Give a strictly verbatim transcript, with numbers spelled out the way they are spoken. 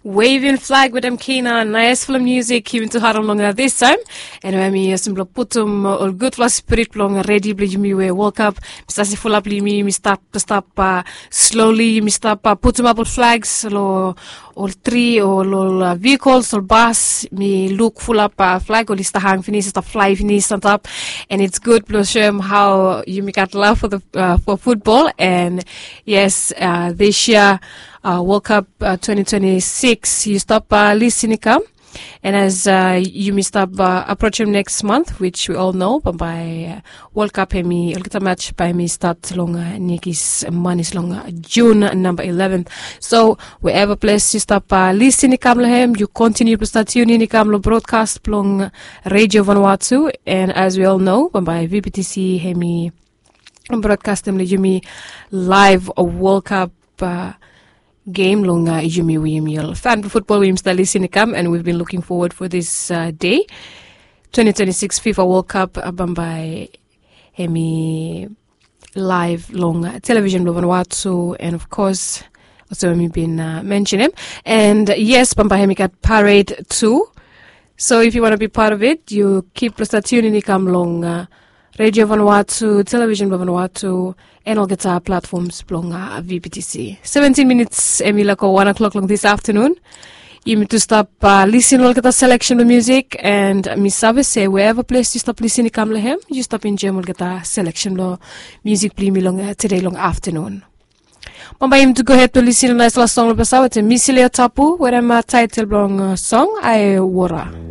Waving flag wetem kina naesfala musik yumi tu harim long distaem. Anyway, mi olsem blong putum ol gudfala spirit blong redi blong yumi we wolkap. Mi sasi fulap long yumi yumi stap stap sloli yumi stap putumap ol flags long ol tri o long ol vehikls ol bas. Mi luk fulap flag oli stap hang finis stap flai finis antap. And it's good blong soem hao yumi gat lav for the for football. And yes, this year, World Cup twenty twenty-six yu stap lisin i kam. And as yumi stap aprosim next month, which we all know bambae World Cup hemi olgeta match bae hemi stat long nikis manis long June number eleven. So wherever ples yu stap lisin i kam long hem, yu kontiniu blong stap tunin i kam long broadcast blong Radio Vanuatu. And as we all know bambae VBTC hemi broadcastem long yumi live World Cup game long yumi we yumi ol fan blong football we yumi stap lisin i kam. And we've been looking forward for this day, twenty twenty-six FIFA World Cup bambae hemi live long television blong Vanuatu. And of course, olsem we mi bin mention him. And yes, bambae hemi gat parade tu. So if you want to be part of it, you keep blong stap tunin i kam long Radio Vanuatu, television blong Vanuatu, and olgeta platforms blong VBTC. Seventeen minutes hemi laik go one o'clock long this afternoon. Yumi tu stap lisin long olgeta selection blong music. And mi save se wherever ples yu stap lisin i kam long hem, yu stap enjoem olgeta selection blong music blong yumi long today long afternoon. Bambae yumi tu go ahead blong lisin long naesfala song long ples aot e Misi Leo Tapu wetem title blong song Ae Wora.